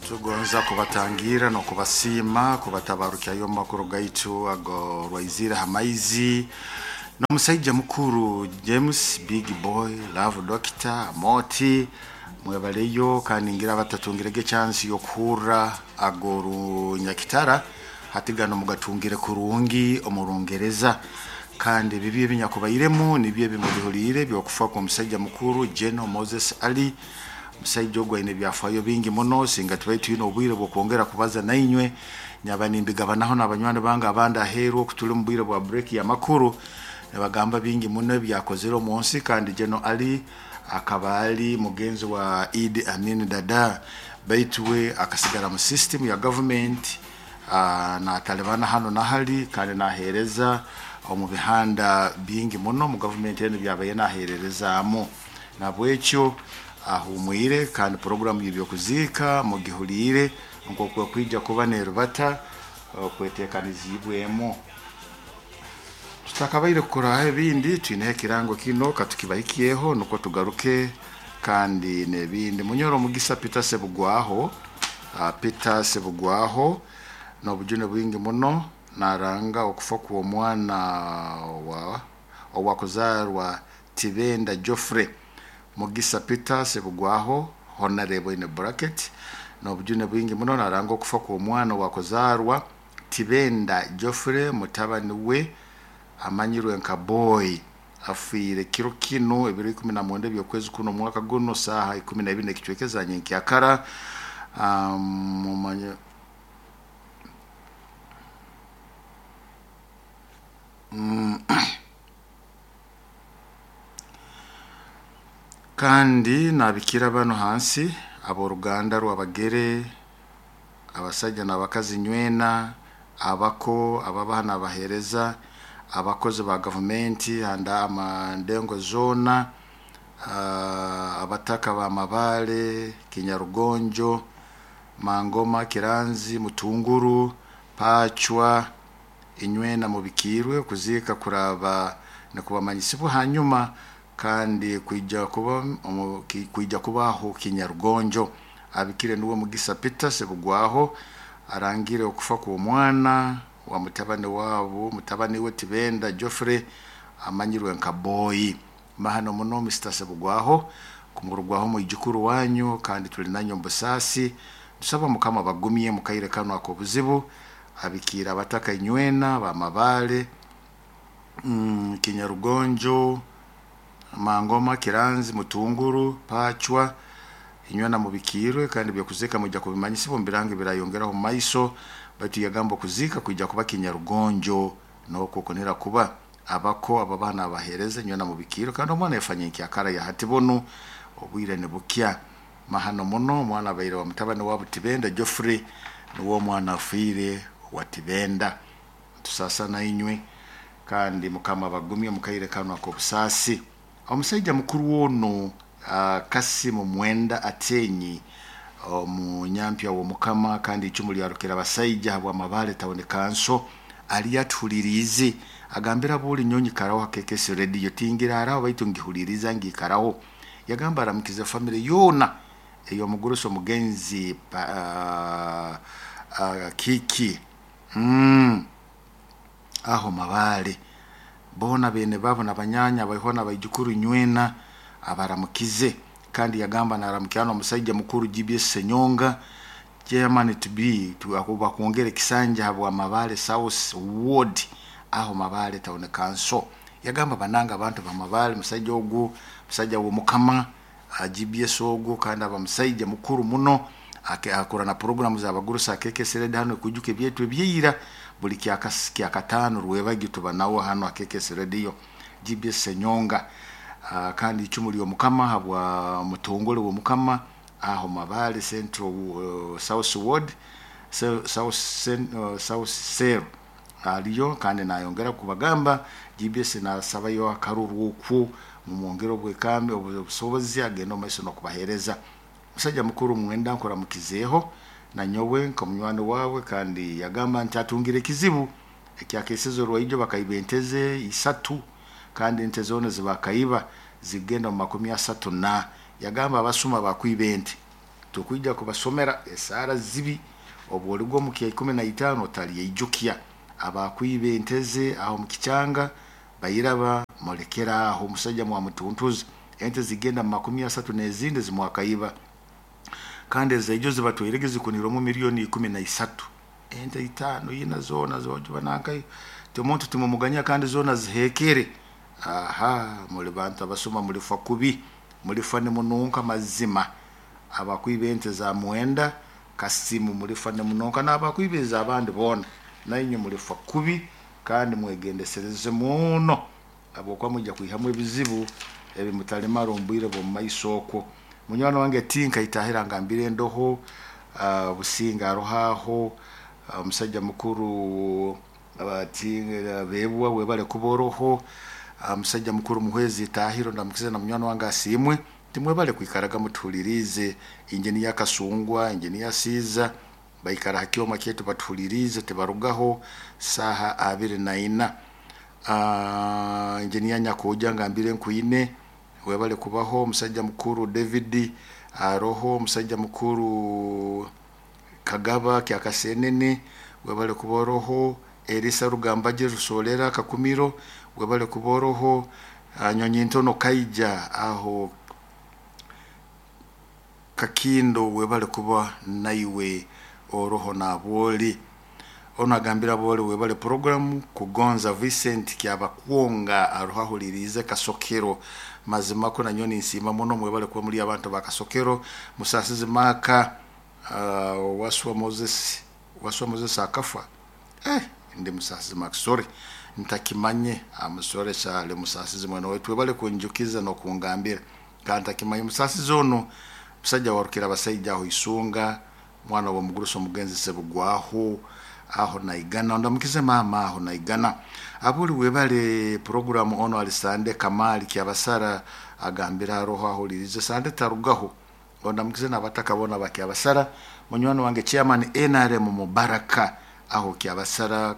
Tugonza kubatangira n'okubasiima kubatabarukyayo omu makuru gaitu ago rwaizire ha maizi n'omusaija mukuru James Big Boy Love Doctor Moti mwebaleyo kandi ngira abatatungirege chance y'okuhurra ago runyakitara hati gano mugatungire kurungi omu Rungereza. Kandi bibi ebinyakubairemu nibyo ebimubihuliire by'okufa kw'omusaija mukuru General Moses Ali. Omusaija ogu aine ebyafaayo bingi muno, singa tubaire twine obwire bw'okwongera kubaza nainywe, nyaba nimbigabanaho n'abanywani bange abandi aheeru oku tuli omu bwire bwa break y'amakuru, nibagamba bingi muno ebyakozere omu nsi. Kandi General Ali akaba ali mugenzi wa Idi Amin Dada, baitu we akasigara mu system ya government, natalibana hanu na hali kandi naheereza omu bihanda bingi muno mu gavumenti enu byabaire naheererezaamu. Nabwekyo ahumwire kandi puroguramu y'ebyokuziika mugihuliire nk'oku ekwija kuba nerubata okweteekaniziibwemu. Tutakabaire kukoraho ebindi, twineho ekirango kino katukibahikyeho nukwo tugaruke kandi n'ebindi. Munyoro omugisa Peter Sebugwaho, Peter Sebugwaho n'obujune bwingi muno naranga okufa kw'omwana wa owakuzarwa Tibenda Geoffrey. Mugisa Peter Sebugwaho, Honorable in a bracket, n'obujune bwingi muno naranga okufa kw'omwana owakuzarwa Tibenda Geoffrey mutabani we amanyirwe nka Boy afiire kiro kinu ebiro 19 eby'okwezi kuno omwaka guno saaha 12 n'ekicweka eza nyenkyakara. Mumanye kandi nabikira banu hansi ab'oruganda rw'Abagere, abasaija n'abakazi nywena, abako ababaha n'abaheereza, abakozi ba gavumenti handa amandengo zoona, abataka ba Mabale, Kinyarugonjo, Mangoma, Kiranzi, Mutunguru, Pacwa, inywena mubikiirwe okuziika kuraba nikubamanyisibwa hanyuma kandi kwija kuba kwija kubaho Kinyarugonjo. Abikire nuwe Mugisa Peter Sebugwaho arangire okufa kw'omwana wa mutabani waabo, mutabani we Tibenda Geoffrey amanyirwe nka Boy. Mahano muno Mr Sebugwaho kumurugwaho mwijukuru wanyu kandi tuli nanywe omu busaasi. Tusaba Mukama abagumye mu kaire kanu ak'obuzibu, abikiire abataka inywena ba Mabale, Kinyarugonjo, Mangoma, Kiranzi, Mutunguru, Pacwa, inywena mubikiirwe kandi ebyokuziika mwija kubimanyisibwa omu birango ebirayongeraho omu maiso, baitu yagamba okuziika kwija kuba Kinyarugonjo nokwo okunira kuba abako ababaha n'abaheereza inywena mubikiirwe kandi omwana yafa nyenkyakara ya hati bunu obwire nibukya. Mahano muno omwana abaire wa mutabani waabo Tibenda Geoffrey nuwe omwana afiire wa Tibenda. Ntusaasa nainywe kandi Mukama abagumye omu kaire kanu ak'obusaasi. Omusaija mukuru onu Kasimu Mwenda Atenyi omunyampya w'Omukama kandi icumu lya Rukirabasaija habw'Amabale Town Council aliyo atuhuliriize agambira abooli nyowe nyikaraho ha KKS Radio tingiraaraho baitu ngihuliriza ngiikaraho. Yagamba aramukize family yoona ey'omugurusi omugenzi Kiki aho Mabale boona beene baabo n'abanyaanya abaihwa n'abaijukuru inywena abaramukize. Kandi yagamba naramukya n'omusaija mukuru GBS Senyonga chairman to be bakwongera ekisanja habwa Mabale South Ward aho Mabale Town Council. Yagamba banange abantu ba Mabale musaija ogu musaija w'Omukama GBS ogu kandi aba musaija mukuru muno akora na puroguramu z'abagurusi KKS Radio hanu ekwijuka ebyaitu ebyaira buli kyakataano rwebagyo tuba nawe hanu ha KKS Radio GBS Senyonga. Kandi icumu ly'Omukama habwa mutongole w'Omukama aho Mabale Central South Ward South Cell aliyo kandi nayongera kubagamba GBS nasabayo akaruru okwo mumwongere obwekambi obusobozi agende omu maiso n'okubaheereza. Musaija mukuru Mwenda nkuramukizeeho nanyowe nk'omunywani waawe kandi yagamba nti atungire ekizibu ekyakesize orwaijo bakaiba ente ze isatu kandi ente zoona zibakaiba zigenda omu 30 na yagamba abasuma bakwiba ente. Tukwija kubasomera esaara zibi obwoligwa omu kya 15 otalyeijukya. Abakwiba enteze aho mukichanga bairaba mulekera aho omusajja mwamutuntuza ente zigenda mu 30 n'ezindi zimwakaiba kandi ezaijo zibatwairege zikunirwemu milioni 13 ente 5 ina zona zojuba nankai omuntu timumuganya kandi zona zihekere. Aha, muli bantu abasoma mulifa kubi, mulifa nimununka mazima. Abakwiba ente za mwenda kasimu mulifa nimununka, n'abakwiba ez'abandi boona nainywe mulifa kubi, kandi mwegendesereze muno habwokuba mwija kwihamu ebizibu ebi mutalimara omu bwire bw'omu maiso okwo. Munywani wange Tinka itahira ngambire endoho, Businga aroho aho, omusajja mukuru Bebwa webale kuba oroho, omusajja mukuru Muhwezi Itahiro ndamukize na munywani wange Asiimwe, timwebale kwikaraga mutuhuliriize. Injiniya Kasungwa, Injiniya Siiza baikara ha kyoma kyaitu batuhuliriize tibarugaho saaha 24. Injiniya Nyakuja ngambire nkwine webale kubaho. Omusajja mukuru David aroho, omusajja mukuru Kagaba Kyakasenene webale kuba oroho, Elisa Rugambaje Rusolera Kakumiro webale kuba oroho, Nyonyi Ntono Kaija aho Kakindo webale kuba naiwe oroho nabwoli. Ono agambira bwoli webale programu Kugonza Vincent Kyabakwonga aroho ahuliriize Kasokero. Mazima ko nanyo ninsiima muno mwebale kuba muri abantu ba Kasokero. Musasizi Maka, Waswa Moses, Waswa Moses akafa. Ndi Musasizi Maka, sorry ntakimanye, amusore cyane Musasizi mwene wetu webale kunjukiza no kungambira kandi ntakimanye. Musasizi ono musajja warukira abasaija aho Isunga, mwana wa mugurusi omugenzi Sebugwaho aho naigana, ndamukize mama aho naigana. Abuli webale programu ono alisande Kamali Kyabasara agambira aroho ahulirize sande tarugaho. Ondamukize n'abataka bona ba Kyabasara. Munywani wange chairman NRM Mubaraka aho Kyabasara,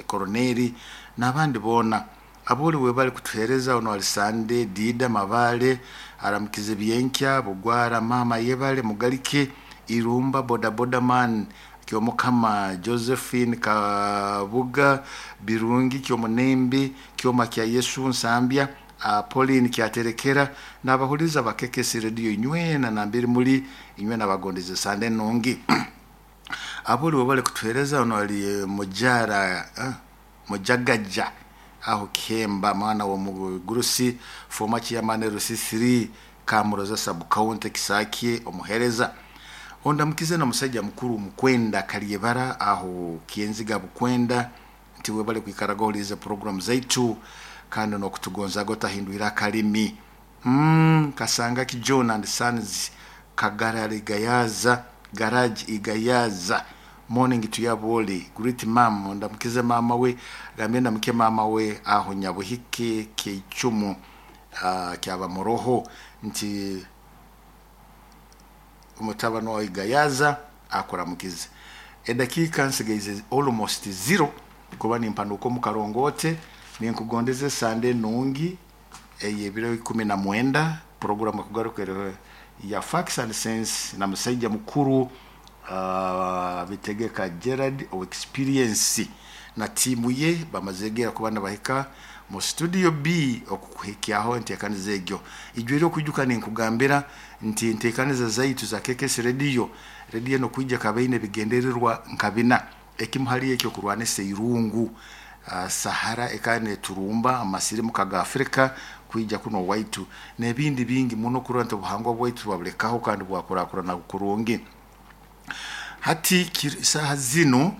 Koroneri n'abandi bona. Abuli webale kutuhereza. Ono alisande Dida Mabale aramukize Byenkya Bugwara mama yebale Mugalike Irumba bodaboda man Kyomukama Josephine Kabuga Birungi Kyomunembe Kyoma kya Yesu Nsambya, Pauline Kyaterekera n'abahuliza bakekesi radio inywena nambiri muri inywena bagondeze sande nungi. Abuli webale kutuhereza. Ono ali mujara mujagaja aho Kemba mwana wa mugurusi former chairman Rusisiri Kamuroza sub county Kisaki omuhereza. Ondamukize na musajja mukuru Mukwenda Kalyebara aho Kienziga Bukwenda nti webale kwikaraga ohulirize program zaitu kandi nokutugonzaga otahindwira akalimi. Kasanga ki John and Sons Kagara Igayaza Garage Igayaza morning to yaboli great mom. Ndamukize mama we gambye ndamuke mama we aho Nyabuhike Keicumu kyaba muroho nti umutabano wa Igayaza akuramukize. Edakika nsigaize almost 0 kuba nimpanuka mu karongote. Ninkugondeze sande nungi eye biro 19 programu kugarukira ya Facts and Sense na musajja mukuru Bitegeka Gerard o experience na timu ye bamazegera kubana bahika mu studio B okukuhikyaho entekaniza egyo. Ijwire okujuka ninkugambira nti entekaniza zaitu za KKS Radio radio no kwijja kabaine bigendererwa nkabina ekimu hali ekyo kurwanisa irungu, Sahara ekane turumba amasirimu kaga Afrika kwijja kuno waitu n'ebindi bingi muno kuranta obuhangwa bwaitu bwabulekaho kandi bwakurakurana kurungi. Hati saha zino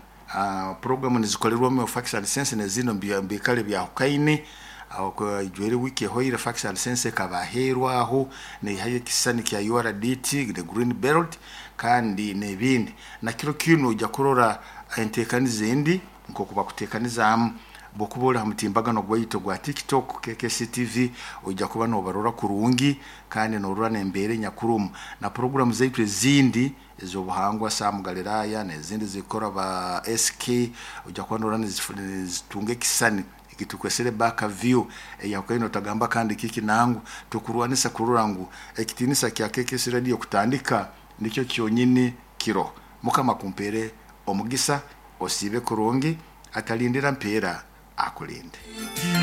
programu nizikorerwamu Facts and Sense ne zino mbikale byahukaine aho ijwere wiki ehoire Facts and Sense kabaherwaho nehaye kisani kya URDT the Green Belt kandi n'ebindi na kiro kino ujya kurora entekaniza endi nkokuba kutekanizamu bwokuba ha mutimbagano gwaitu gwa TikTok KKC TV ujya kuba nobarora kurungi kandi norora nembere nyakurumu na programu zaitu ezindi ezobuhangwa Sam Galilaya n'ezindi zikora ba SK ujya kuba norora nizitunga kisani ekitukwesere back view eyakukaino tagamba kandi kiki nangu tukurwanisa kurora ngu ekitinisa kya KKC Radio kutandika Nikyo kyonyini kiro. Mukama kumpere omugisa, osiibe kurungi, atalindira mpeera akulinde.